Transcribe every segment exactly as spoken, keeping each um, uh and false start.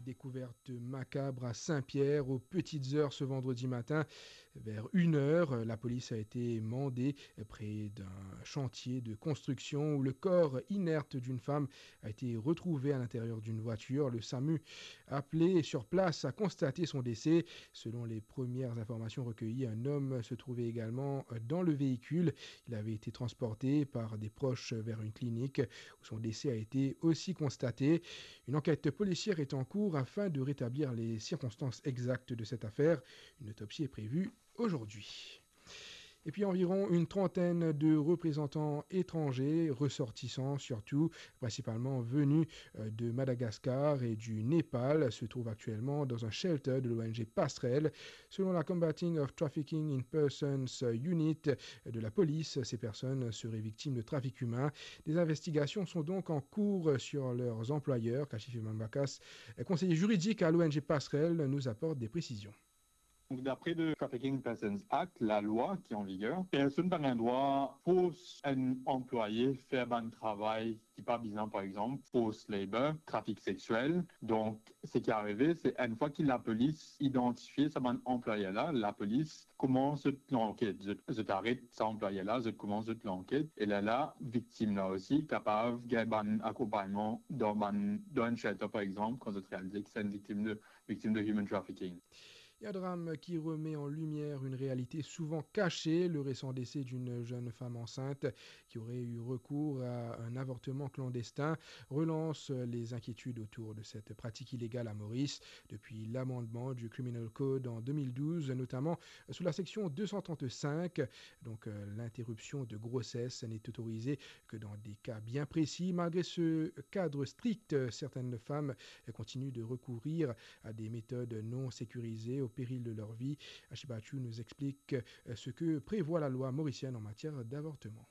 Découverte macabre à Saint-Pierre aux petites heures ce vendredi matin. Vers une heure, la police a été mandée près d'un chantier de construction où le corps inerte d'une femme a été retrouvé à l'intérieur d'une voiture. Le SAMU, appelé sur place, a constaté son décès. Selon les premières informations recueillies, un homme se trouvait également dans le véhicule. Il avait été transporté par des proches vers une clinique où son décès a été aussi constaté. Une enquête policière est en cours afin de rétablir les circonstances exactes de cette affaire. Une autopsie est prévue aujourd'hui. Et puis environ une trentaine de représentants étrangers, ressortissants surtout, principalement venus, euh, de Madagascar et du Népal, se trouvent actuellement dans un shelter de l'O N G Passerelle. Selon la Combating of Trafficking in Persons Unit de la police, ces personnes seraient victimes de trafic humain. Des investigations sont donc en cours sur leurs employeurs. Kashif Imam Bakas, conseiller juridique à l'O N G Passerelle, nous apporte des précisions. Donc, d'après le Trafficking Persons Act, la loi qui est en vigueur, personne pa gagn drwa fors enn anplwaye fer bann travay ki pa bizin, par exemple, forced labor, trafik sexuel. Donc, ce qui est arrivé, c'est une fois que la police identifie sa bann anplwaye la, la police koumans zot lanket, zot, zot aret sa anplwaye la, zot koumans zot lanket. E la, la viktim la osi kapav gagn bann akonpagnman dan bann, dan enn shelter, par exemple, kan zot realize ki se enn viktim de, viktim de human trafficking. Et un drame qui remet en lumière une réalité souvent cachée, le récent décès d'une jeune femme enceinte qui aurait eu recours à un avortement clandestin relance les inquiétudes autour de cette pratique illégale à Maurice. Depuis l'amendement du Criminal Code en deux mille douze, notamment sous la section deux cent trente-cinq, donc, euh, l'interruption de grossesse n'est autorisée que dans des cas bien précis. Malgré ce cadre strict, certaines femmes continuent de recourir à des méthodes non sécurisées au péril de leur vie. Ashibachou nous explique, euh, ce que prévoit la loi mauricienne en matière d'avortement.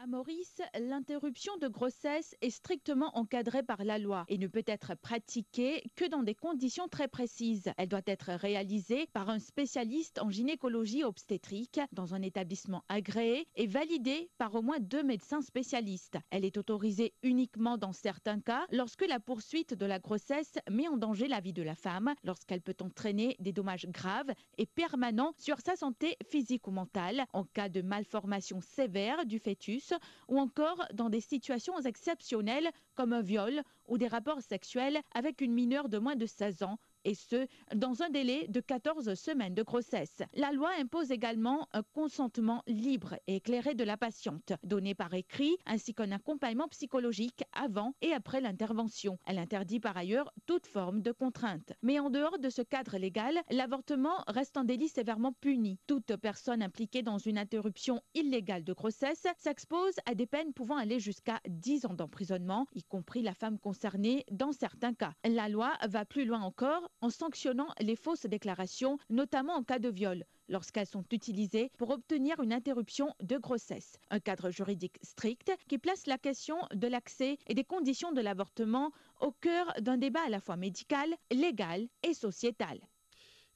À Maurice, l'interruption de grossesse est strictement encadrée par la loi et ne peut être pratiquée que dans des conditions très précises. Elle doit être réalisée par un spécialiste en gynécologie obstétrique dans un établissement agréé et validée par au moins deux médecins spécialistes. Elle est autorisée uniquement dans certains cas, lorsque la poursuite de la grossesse met en danger la vie de la femme, lorsqu'elle peut entraîner des dommages graves et permanents sur sa santé physique ou mentale, en cas de malformation sévère du fœtus ou encore dans des situations exceptionnelles comme un viol ou des rapports sexuels avec une mineure de moins de seize ans, et ce, dans un délai de quatorze semaines de grossesse. La loi impose également un consentement libre et éclairé de la patiente, donné par écrit, ainsi qu'un accompagnement psychologique avant et après l'intervention. Elle interdit par ailleurs toute forme de contrainte. Mais en dehors de ce cadre légal, l'avortement reste un délit sévèrement puni. Toute personne impliquée dans une interruption illégale de grossesse s'expose à des peines pouvant aller jusqu'à dix ans d'emprisonnement, y compris la femme concernée dans certains cas. La loi va plus loin encore en sanctionnant les fausses déclarations, notamment en cas de viol, lorsqu'elles sont utilisées pour obtenir une interruption de grossesse. Un cadre juridique strict qui place la question de l'accès et des conditions de l'avortement au cœur d'un débat à la fois médical, légal et sociétal.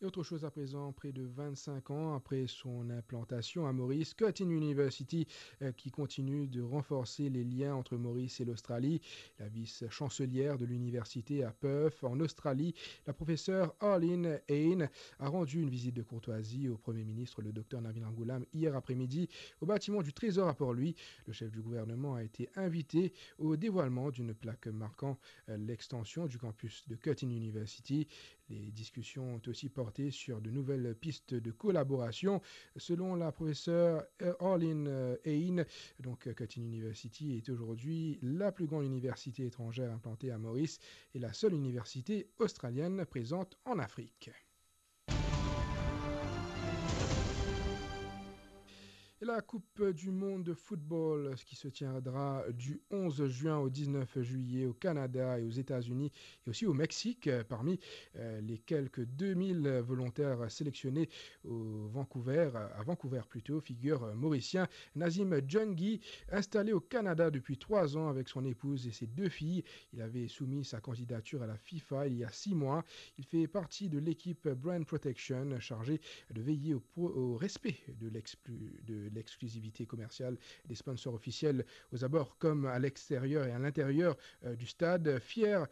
Et autre chose à présent, près de vingt-cinq ans après son implantation à Maurice, Curtin University, euh, qui continue de renforcer les liens entre Maurice et l'Australie. La vice-chancelière de l'université à Perth, en Australie, la professeure Arlene Hayne, a rendu une visite de courtoisie au Premier ministre, le docteur Navin Ramgoolam, hier après-midi au bâtiment du Trésor à Port-Louis. Le chef du gouvernement a été invité au dévoilement d'une plaque marquant, euh, l'extension du campus de Curtin University. Les discussions ont aussi porté sur de nouvelles pistes de collaboration. Selon la professeure, euh, Arlene, euh, Hayne, donc, euh, Curtin University est aujourd'hui la plus grande université étrangère implantée à Maurice et la seule université australienne présente en Afrique. Et la Coupe du monde de football, ce qui se tiendra du onze juin au dix-neuf juillet au Canada et aux États-Unis et aussi au Mexique, euh, parmi, euh, les quelques deux mille volontaires sélectionnés au Vancouver, à Vancouver plutôt, figure, euh, Mauricien Nazim Junghi, installé au Canada depuis trois ans avec son épouse et ses deux filles. Il avait soumis sa candidature à la FIFA il y a six mois. Il fait partie de l'équipe Brand Protection chargée de veiller au pro-, au respect de l'exclu-, de l'exclusivité commerciale des sponsors officiels aux abords comme à l'extérieur et à l'intérieur, euh, du stade. Fier, euh,